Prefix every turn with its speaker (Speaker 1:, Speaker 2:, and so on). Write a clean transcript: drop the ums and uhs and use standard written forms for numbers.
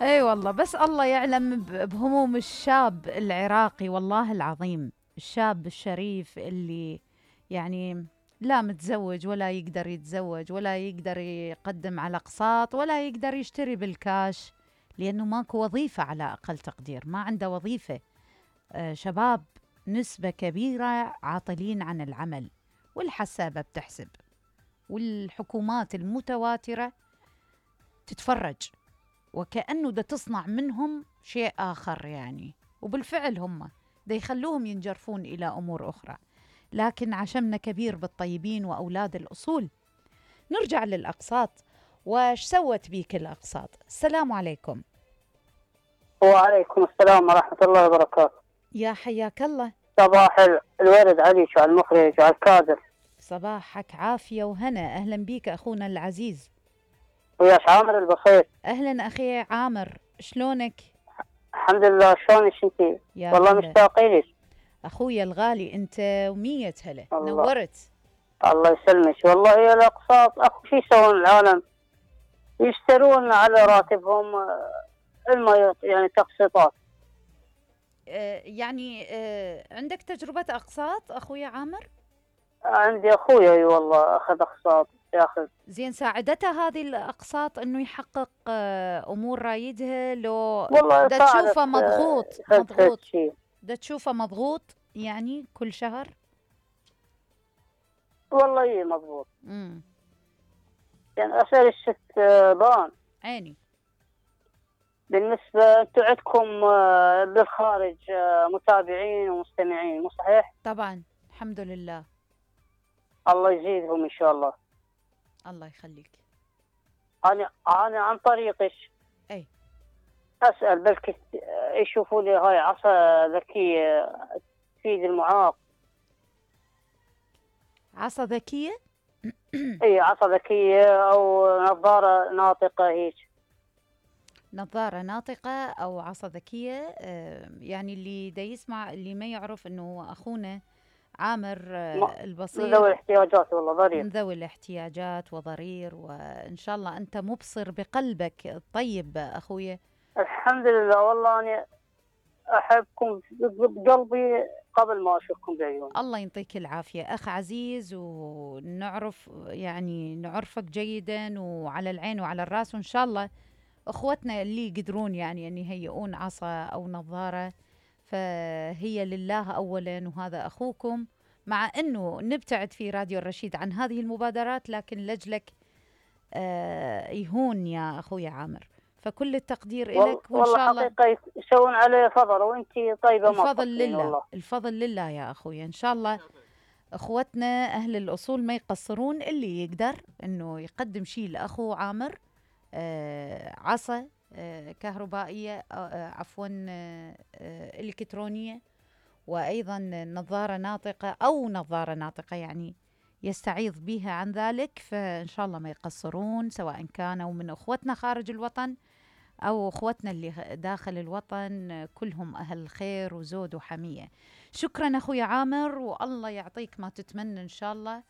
Speaker 1: اي والله، بس الله يعلم بهموم الشاب العراقي، والله العظيم الشاب الشريف اللي يعني لا متزوج ولا يقدر يتزوج ولا يقدر يقدم على اقساط ولا يقدر يشتري بالكاش، لانه ماكو وظيفة، على اقل تقدير ما عنده وظيفة. شباب نسبة كبيرة عاطلين عن العمل، والحسابة بتحسب، والحكومات المتواترة تتفرج وكأنه دا تصنع منهم شيء آخر يعني، وبالفعل هم دا يخلوهم ينجرفون إلى أمور أخرى. لكن عشمنا كبير بالطيبين وأولاد الأصول. نرجع للأقساط، وش سوت بيك الأقساط؟ السلام عليكم.
Speaker 2: وعليكم السلام ورحمة الله وبركاته.
Speaker 1: يا حياك الله.
Speaker 2: صباح الورد عليك وعلى المخرج وعلى الكادر.
Speaker 1: صباحك عافية وهنا، أهلا بيك أخونا العزيز.
Speaker 2: وياش عامر البسيط.
Speaker 1: أهلا أخي عامر، شلونك؟
Speaker 2: الحمد لله، شلونك انتي؟ والله مشتاقين لك
Speaker 1: أخويا الغالي، أنت ومية هلا، نورت.
Speaker 2: الله يسلمك. والله هي الأقساط أخو شو يسوون العالم؟ يشترون على راتبهم يعني تقسيطات.
Speaker 1: يعني عندك تجربة أقساط أخويا عامر؟
Speaker 2: عندي أخويا اي والله أخذ أقساط ياخذ.
Speaker 1: زين، ساعدته هذه الأقساط إنه يحقق أمور رايدها؟ لو
Speaker 2: والله
Speaker 1: دا تشوفه مضغوط دا تشوفه مضغوط يعني كل شهر؟
Speaker 2: والله اي مضبوط. يعني أسأل الست بان
Speaker 1: عيني.
Speaker 2: بالنسبة انتم عندكم بالخارج متابعين ومستمعين مو صحيح؟
Speaker 1: طبعا الحمد لله. الله
Speaker 2: يزيدهم ان شاء الله.
Speaker 1: الله يخليك.
Speaker 2: انا عن طريقك
Speaker 1: اي
Speaker 2: اسال بلكي يشوفوا لي هاي عصا ذكية تفيد المعاق.
Speaker 1: عصا ذكية؟
Speaker 2: اي عصا ذكية او نظارة ناطقة هيك.
Speaker 1: نظارة ناطقة أو عصا ذكية. يعني اللي دا يسمع، اللي ما يعرف أنه أخونا عامر البصير
Speaker 2: من ذوي الاحتياجات والله ضرير،
Speaker 1: من ذوي الاحتياجات وضرير، وإن شاء الله أنت مبصر بقلبك الطيب أخويا.
Speaker 2: الحمد لله. والله أنا أحبكم بقلبي قبل ما أشوفكم بعيوني.
Speaker 1: الله يعطيك العافية أخ عزيز، ونعرف يعني نعرفك جيدا وعلى العين وعلى الراس، وإن شاء الله أخوتنا اللي يقدرون يعني أن يهيئون عصا أو نظارة فهي لله أولا، وهذا أخوكم. مع أنه نبتعد في راديو الرشيد عن هذه المبادرات، لكن لجلك يهون يا أخوي عامر، فكل التقدير لك. وإن شاء الله
Speaker 2: حقيقة يسوون عليه فضل، وأنتي طيبة.
Speaker 1: الفضل لله والله. الفضل لله يا أخوي. إن شاء الله أخوتنا أهل الأصول ما يقصرون، اللي يقدر أنه يقدم شيء لأخو عامر، عصا كهربائية، عفوا إلكترونية، وأيضا نظارة ناطقة أو نظارة ناطقة يعني يستعيض بها عن ذلك، فإن شاء الله ما يقصرون، سواء كانوا من أخوتنا خارج الوطن أو أخوتنا اللي داخل الوطن، كلهم أهل خير وزود وحمية. شكرا أخوي عامر، والله يعطيك ما تتمنى إن شاء الله.